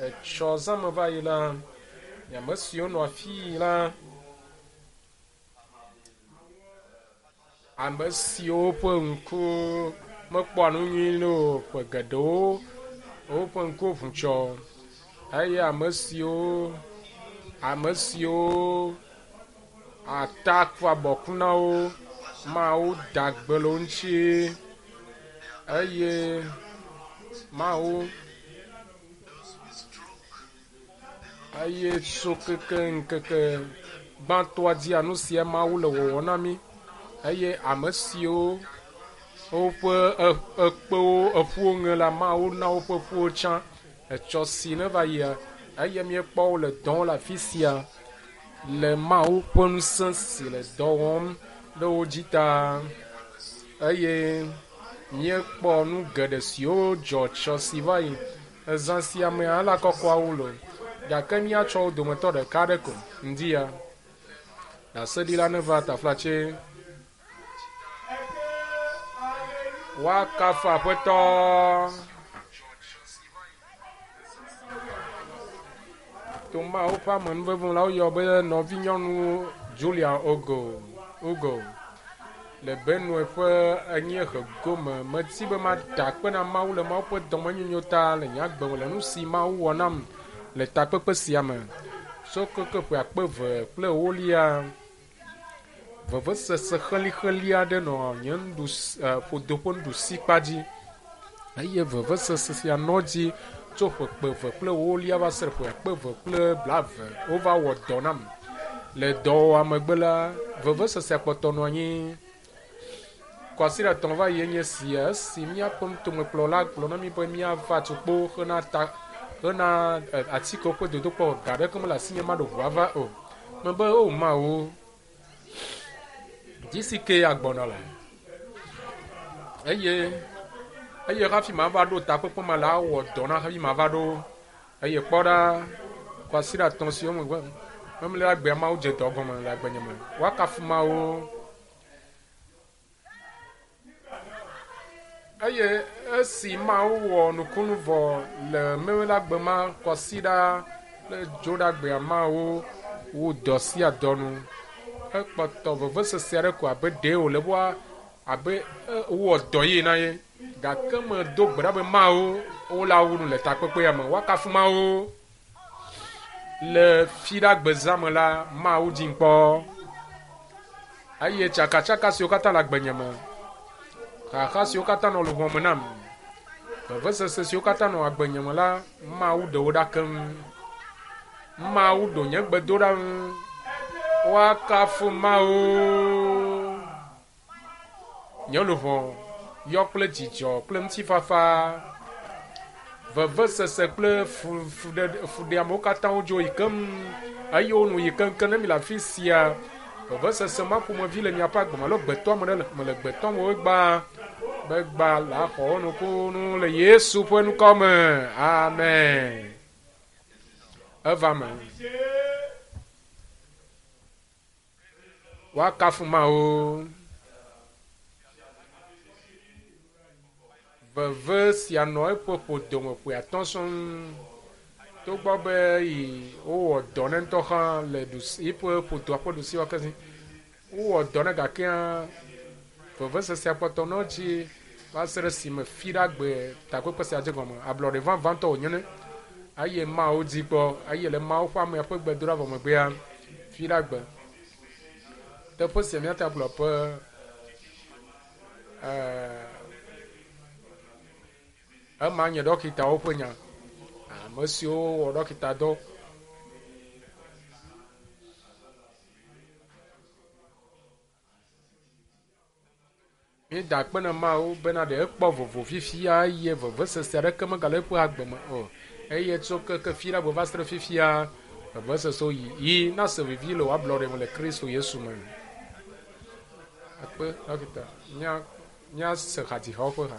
Etsɔ zã me va yi la, ame siwo nɔ afii la, ame siwo ƒe ŋku mekpɔa nu nyui o ƒe geɖewo woƒe ŋkuwo ʋu tsɔ eye ame siwo ame siwo ata ku abɔku na wo Mawu da gbe le wo ŋuti eye Mawu eye tso keke ŋkeke gbãtɔa dzia nu sia Mawu le wɔwɔ na mí eye ame siwo woƒe ekpewo eƒuwo ŋe la Mawu na woƒe ƒuwo tsã etsɔ si neva yia eye míekpɔ wo le dɔm le afi sia le Mawu ƒe ŋusẽ si le dɔ wɔm ɖe wo dzi ta eye míekpɔ nu geɖe siwo dzɔ tsɔ si va yi ezã sia me ala kɔkɔawo le gake míatsɔ wo dometɔ ɖeka aɖe ko ŋdi ya. Ɖaseɖila neva taflatse. Woakafu Aƒetɔ. To Mawu ƒe amenuveve la woyɔ be nɔvinyɔnu Julia Ogo Ugo le Benue ƒe anyiehe gome. Medi be mada akpe na Mawu le Mawu ƒe dɔmenyonyo ta le nye agbe me le nu si Mawu wɔ nam le takpekpe sia me. Tso keke ƒe akpe eve kple ewolia Vevesese xelixeli aɖe nɔ nye nuɖusi ƒodo ƒe nuɖusikpa dzi eye vevesese sia nɔ edzi tso ƒe kpe eve kple ewolia va se ɖe ƒe akpe eve kple blaeve. Wova wɔ dɔ nam. Le dɔwɔwɔa megbe la, vevesesea kpɔtɔ nɔ anyi. Kwasiɖa etɔ̃ va yi enye esia esi míaƒe nutomekplɔla gblɔ na mí be míava tukpo hena ta hena atikewo ƒe dodokpɔ. Ga aɖeke mele asinye maɖo ʋu ava o. Mebe, O Mawu, dzi si ke agbɔnɔ le. Eye eye hafi mava ɖo takpekpe ma la, awɔ dɔ na hafi mava ɖo. Eye kpɔ ɖa, kwasiɖa etɔ̃ siwo megbe memlɛ agbea Mawu dze dɔ gɔme le agbenye me. Woakafu Mawu. Eye esi Mawu wɔ nukunu vɔ le Memleɖagbe ma kwasiɖa kple Dzoɖagbea Mawu wu dɔ sia dɔ nu. Ekpɔtɔ vevesese aɖe ko abe ɖee wòle be abe wowɔ dɔ ye na ye. Gake medo gbe ɖa be Mawu wola wu nu le takpekpea me. Woakafu Mawu. Le Fiɖagbe zã me la, Mawu dzim kpɔ. Eye tsakatsaka siwo katã le agbenye me, xaxa siwo katã nɔ luʋɔ me nam, vevesese siwo katã nɔ agbenye me la, Mawu ɖe wo ɖa keŋ. Mawu ɖo nye gbedoɖa ŋu. Woakafu Mawu. Nye luʋɔ yɔ kple dzidzɔ kple ŋutifafa. Vevesese kple fuɖeamewo katã wodzo yi keŋ eye wo nu yi keŋkeŋ. Ne mi le afi sia, vevesese ma ƒomevi le miaƒe agbe me alo gbetɔame ɖe me le gbetɔame wo gbã be gbã la xɔ wo nukunu le Yesu ƒe ŋkɔ me. Amen. Eva me. Woakafu Mawu. Veve sia nɔ eƒe ƒodome ƒe atɔ̃ sɔŋ. Togbɔ be yi wowɔ dɔ ne ŋutɔ hã le ɖusi eƒe ƒodoa ƒe ɖusi wɔ kezi. Wowɔ dɔ ne gakea vevesesea kpɔtɔ nɔ edzi va se ɖe esime Fiɖagbe takpekpe sia dze gɔme. Ablɔɖe vavãtɔ wònye ne eye Mawu di kpɔ eye le Mawu ƒe amea ƒe gbedoɖa vɔ megbea Fiɖagbe. Teƒe sia míate agblɔ be ema nye ɖɔkitawo ƒe nya. Ame siwo wɔ ɖɔkita dɔ. Míeda akpe na Mawu bena ɖe ekpɔ vovo fifia eye vevesese aɖeke megale eƒe agbe me o. Eye tso keke fiɖagbe va se ɖe fifia, vevesesewo yi yi nase vivi le wò ablɔɖe me le Kristo Yesu me. Akpe, ɖɔkita. Mía, míase hadzihawo ƒe ha.